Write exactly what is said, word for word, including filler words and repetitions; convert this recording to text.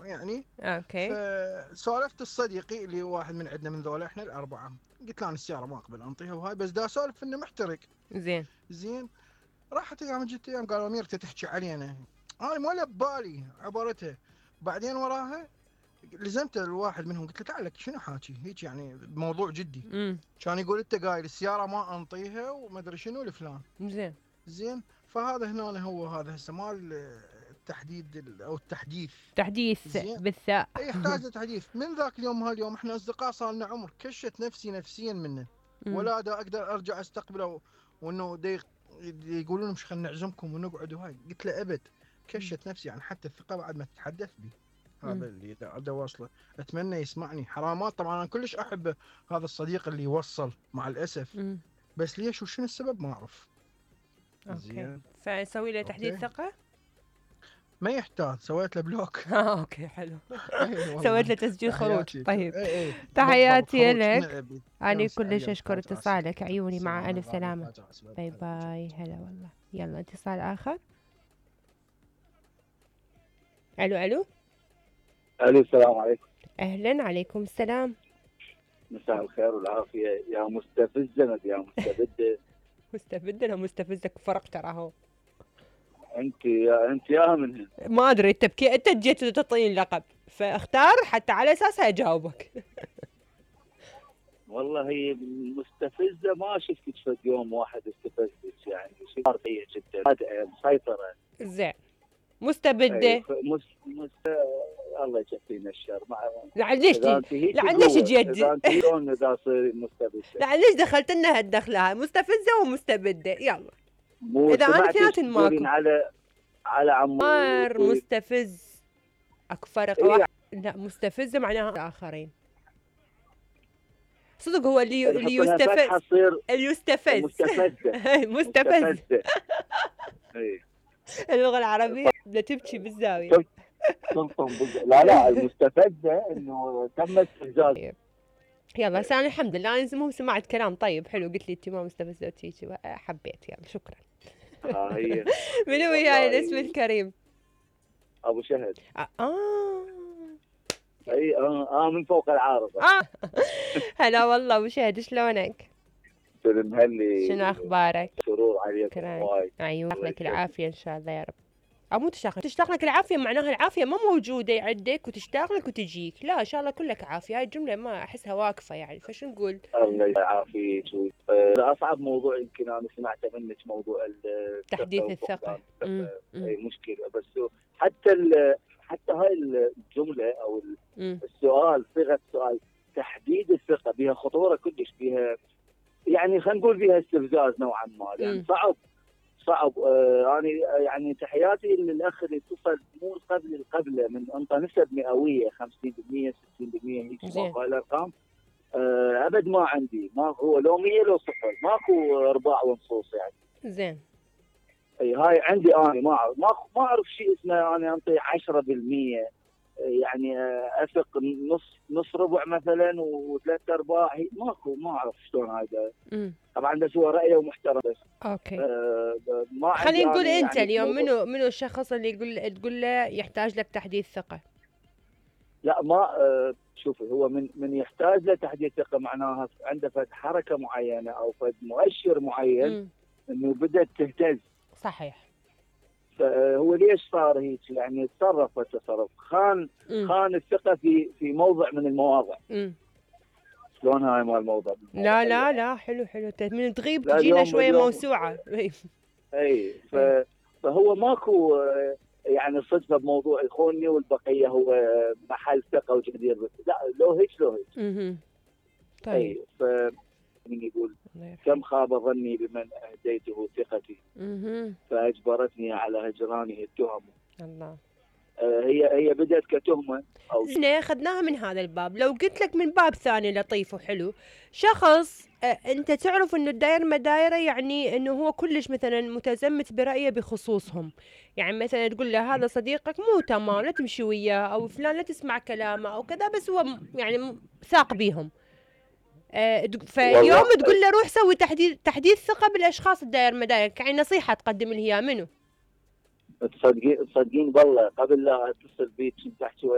يعني. اوكي. فسولفت الصديقي اللي هو واحد من عندنا من ذولا احنا الاربعه، قلت له انا السياره ما اقبل انطيها وهاي، بس دا اسولف انه محترق. زين زين راحت ايام جت ايام قالوا امير تحكي علينا، انا ما ببالي عبرتها. بعدين وراها لزمت الواحد منهم قلت له تعال لك شنو حاكي هيك يعني بموضوع جدي. امم كان يقول انت قايل السياره ما انطيها وما ادري شنو لفلان. زين زين فهذا هنا هو هذا هسه مال التحديد او التحديث. تحديث زين بالثاء. يحتاج لتحديث. من ذاك اليوم هاليوم احنا اصدقاء صار لنا عمر، كشت نفسي نفسيا منه ولا دا اقدر ارجع استقبله، وانه دي يقولون مش خلينا نعزمكم ونقعد وهاي، قلت له ابد كشت نفسي يعني حتى الثقه بعد ما تتحدث بي. هذا اللي دا واصله، اتمنى يسمعني. حرامات طبعا انا كلش احب هذا الصديق اللي يوصل مع الاسف. مم. بس ليش وشنو السبب ما اعرف. اوكي فسوي له تحديد ثقه؟ ما يحتاج، سويت له بلوك. اه اوكي حلو. سويت له تسجيل خروج. طيب ايه ايه. تحياتي لك، انا كلش اشكر اتصالك، عيوني مع الف سلامه. باي باي. هلا والله. يلا اتصال اخر. الو الو الو السلام عليكم. اهلا. عليكم السلام. مساء الخير والعافيه يا مستفزه يا مستبده. مستبده ولا مستفزك؟ فرق ترى هو. انت يا انت يا من ما ادري انت بكي انت جيت تعطيني لقب فاختار حتى على اساسها اجاوبك. والله هي مستفزه، ما شفتك في يوم واحد استفزتك يعني شيء قويه جدا مسيطره. زين مستبده. مس... مس... الله يكفينا الشر. مع لعل ليش تجي؟ لعل ليش جيت؟ اذا انت شلون اذا صير مستبده؟ لعل ليش دخلت لنا هالدخله هاي مستفزه ومستبده؟ يلا اذا انا اثنيناتهم ماكو على على عمار مستفز اكو فرق. إيه؟ واحد لا مستفزه معناها اخرين صدق. هو اللي اللي يستفز اللي يستفز مستفزه مستفز. اللغه العربيه بدها تبكي بالزاويه. لا لا المستفزه انه تم استفزاز. يلا سامي الحمد لله انا مو سمعت كلام طيب حلو. قلت لي انت ما مستفزه وتيجي حبيت. يلا شكرا. اه هي منو وياي الاسم الكريم؟ ابو شهد. اه اي اه, آه من فوق العارضه. اه هلا والله ابو شهد شلونك؟ سلم هلي. شنو اخبارك؟ سرور عليكم وايد. ايوه يعطيك العافيه ان شاء الله يا رب. او مو تشتاق تشتاق لك العافيه معناها العافيه ما موجوده عندك وتشتاق لك وتجيك. لا ان شاء الله كلك عافيه. هاي الجمله ما احسها واقفه يعني فشو نقول؟ الله يعافيك. اصعب موضوع يمكن انا سمعته منك موضوع تحديث الثقه. اي مشكله. بس حتى حتى هاي الجمله او السؤال صيغه السؤال تحديد الثقه بها خطوره كلش، بها يعني خلينا نقول بها استفزاز نوعا ما يعني صعب صعب. آه انا يعني تحياتي للاخ اللي اتصل مو قبل القبله من انطى نسب مئويه خمسين بالمئة ستين بالمئة هيك هاي الارقام. آه ابد ما عندي، ما هو لو مية لو صفر ماكو ارباع ونصوص يعني. زين. اي هاي عندي انا ما اعرف ما ما اعرف شيء اسمه انا انطي عشرة بالمئة يعني اثق نص نص ربع مثلا وثلاث ارباع ماكو ما اعرف شلون هذا. طبعا بس هو رايه ومحترم بس. اوكي. آه ما خلينا نقول انت يعني اليوم منو منو الشخص اللي يقول تقول له يحتاج لك تحديث ثقه؟ لا ما آه شوفي هو من من يحتاج له تحديث ثقه معناها عنده فد حركه معينه او فد مؤشر معين م. انه بدات تهتز. صحيح. فهو ليش صار هيك يعني تصرف التصرف خان م. خان الثقه في في موضع من المواضع. م. شلون هاي مال الموضوع؟ لا لا لا حلو حلو من تغيب تجينا شويه موسوعه. اي فهو ماكو يعني صدفه بموضوع يخونني والبقيه هو محل ثقه وجدير. لا لو هيك لو هيك. اها طيب. ف من يقول كم خاب ظني بمن اهديته ثقتي اها فاجبرتني على هجرانه التهم. الله. هي هي بدات كتهمه او احنا اخذناها من هذا الباب. لو قلت لك من باب ثاني لطيف وحلو، شخص انت تعرف انه الداير مدايره يعني انه هو كلش مثلا متزمت برايه بخصوصهم، يعني مثلا تقول له هذا صديقك مو تمام لا تمشي وياه او فلان لا تسمع كلامه او كذا، بس هو يعني ثاق بيهم. أه فيوم تقول له روح سوي تحديث تحديث ثقه بالاشخاص الداير مداير، يعني نصيحه تقدم لي اياها منو؟ تصدقين تصدقين بالله قبل لا اتصل بيك كنت احكي